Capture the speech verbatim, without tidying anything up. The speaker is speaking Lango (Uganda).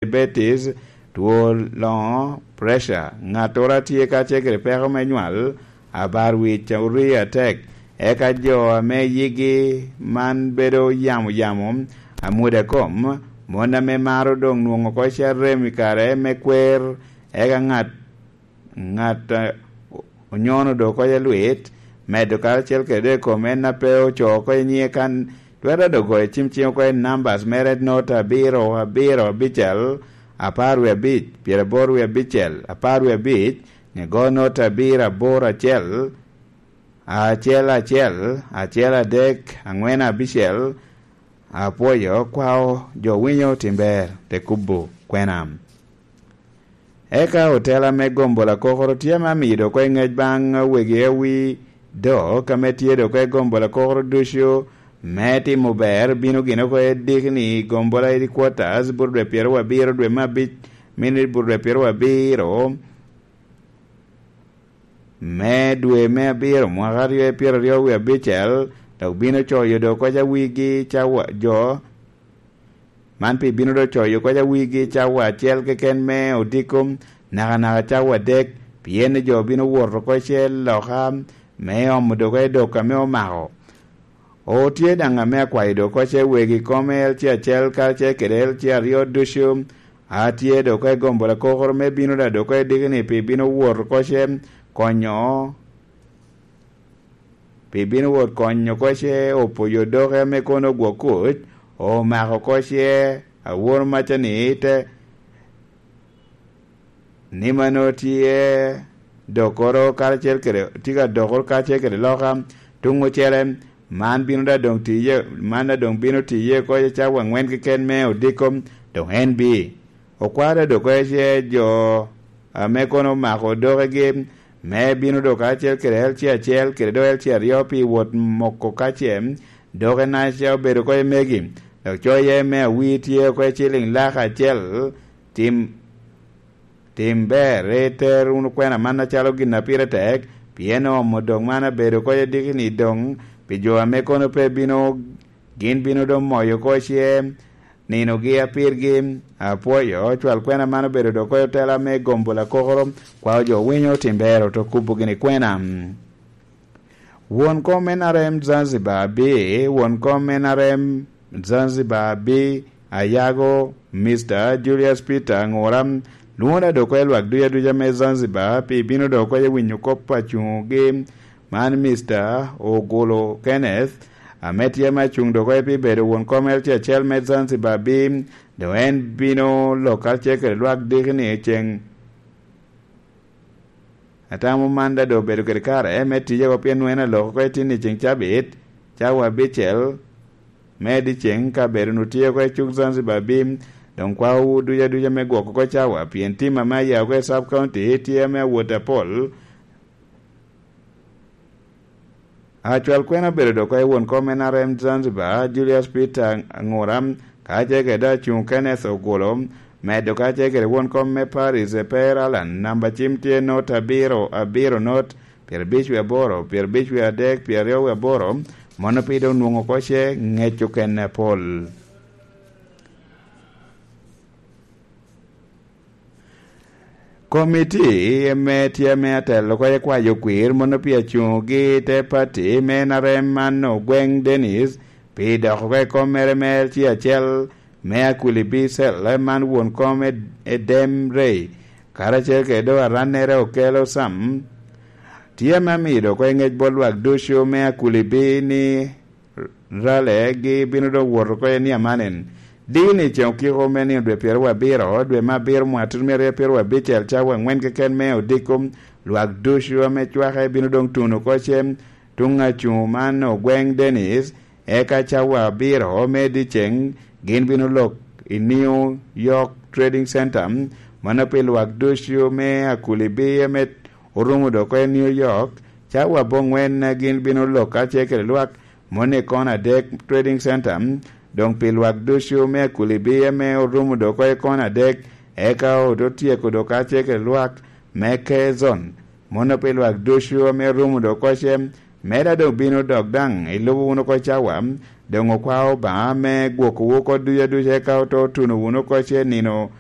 diabetes, two loŋo, pressure, ŋattoro a tye kacel kede peko me nywal, abar wic, orii atek, eka jo ame yigi man bedo yamo yamo, amwodo a kom, mon ame maro doŋ nwoŋo oko carem i kare me kwer, eka ŋat ŋat a onyono doŋ oko lwit, medo karacel kede dok i kom en a pe ocoo oko i nyiŋe kan, twero doŋ goyo cim cing oko i nambas mere, not abiro, abiro, abicel, apar wie abic, pyeraboro wie abicel, apar wie abic, ni go not abiro, aboro, acel, acel, acel, acel, adek, angwen, abicel. Apwoyo, kwao, jo winyo, tim ber, te kubo, kwena. Eka otela me gombo lakokoro tye ame amiyo doŋ oko i ŋec baŋ wegi awi dok ame tye doŋ oko i gombo lakokoro ducu me timo ber, bino gin oko i dikni gombo la headquarters, bur dwe pyeraryo abiro, dwe me abic, minit bur dwe pyeraryo abiro me dwe me abiro, mwaka aryo i pyeraryo wie abicel, dok bino coyo doŋ oko i wigi cawa jo, man pi bino doŋ coyo oko i wigi cawa acel keken me odiko, nakanaka cawa adek, pien jo bino wot oko i loka me omo doŋ oko i dok ame omako. Otye daŋ ame akwayo doŋ oko i wegi kome L C acel karacel kede L C aryo ducu, atye doŋ oko i gombo lakokoro me bino daŋ doŋ oko i dikni pi bino wot oko i konyo, pi bino wot konyo oko i opoyo doke ame kono ogwok kuc, omako oko i awor macani te ni mano tye dokoro karacel kede, tye ka dokoro karacel kede loka tuŋ ocele, man bino da doŋ tiye, man da doŋ bino tiye oko i cawa aŋwen keken me odiko, doŋ en bi. Okwaro da doŋ oko ice jo ame kono omako dokegi, me bino doŋ karacel kede L C acel kede doŋ L C aryo pi wot moko kace, doke naca obedo oko i megi, dok coye me awi tye oko i ciliŋ lak acel, tim, tim ber, iter wunu kwena man acalo gin a pire tek, pien oomo doŋ man abedo oko i dikni doŋ, pi jo ame kono pe bino, gin bino doŋ moyo oko ice ninogi a pirgi. Apwoyo, cwal kwena man obedo doŋ oko i otela me gombo lakokoro, kwao jo winyo tim ber, oto kubo gini kwena. Won kom N R M Zanzibar bi, won kom N R M Zanzibar bi, ayago, Mister Julius Peter Aŋura, lwongo da doŋ oko i lwak duc aduca me Zanzibar, pi bino doŋ oko i winyo kop a cuŋogi, man Mister Ogulu Kenneth, ame tye ame acuŋ doŋ oko pi bedo won kom L C acel me Zanzibar bi, doŋ en bino lok karacel kede lwak dikni i ceŋ. Atamo man da doŋ obedo kede kare me tiye oko, pien nwoŋo en aloko oko i tin i ceŋ cabit, cawa abicel me dyeceŋ, ka bedo nu tye oko i cuk Zanzibar bi, doŋ kwaowu duc aduca me gwoko oko cawa, pien tim ame aya oko i sub county tye ame awot apol. Acwal kwena obedo doŋ oko i won kom N R M Zanzibar, Julius Peter Aŋura, kacel kede acuŋ Kenneth Ogulu, medo kacel kede won kom me Paris Eper Allan, namba cim tye not abiro, abiro not, pyerabic wie aboro, pyerabic wie adek, pyeraryo wie aboro, mono pi doŋ nwoŋo oko ce ŋec okene apol. Komiti ame tye ame atelo oko kwayo kwir mono pi acuŋogi te pati me N R M man Ogweng Dennis pi doko oko i kom mere me L C acel me Akuli Bicel, man won kom Ed-, Edem Rey, karacel kede doŋ arannere Okello Sam, tye ame amido oko i ŋec bot lwak ducu me Akuli B ni ralegi bino doŋ wot oko i niamanen. Dini ceŋ okiko me nino dwe pyeraryo abiro, dwe me abiro mwaka tutumia aryo pyeraryo abicel, cawa aŋwen keken me odiko, lwak ducu ame cwake bino doŋ tuno oko ce tuŋ acuŋ man Ogweng Dennis, eka cawa abiro me dyeceŋ gin bino lok i New York Trading Center, mano pi lwak ducu me Akuli B ame orumo doŋ oko i New York, cawa aboŋwen gin bino lok kacel kede lwak moni i kona adek Trading Center, doŋ pi lwak ducu me Akuli B ame orumo doŋ oko i kona adek, eka oto tyeko doŋ kacel kede lwak me Kezon, mono pi lwak ducu ame rumo doŋ oko ce, meda doŋ bino dok daŋ ilubo wunu oko cawa, doŋ okwao Obaŋa me gwokowu oko ducu aduca, eka oto tuno wunu oko ce nino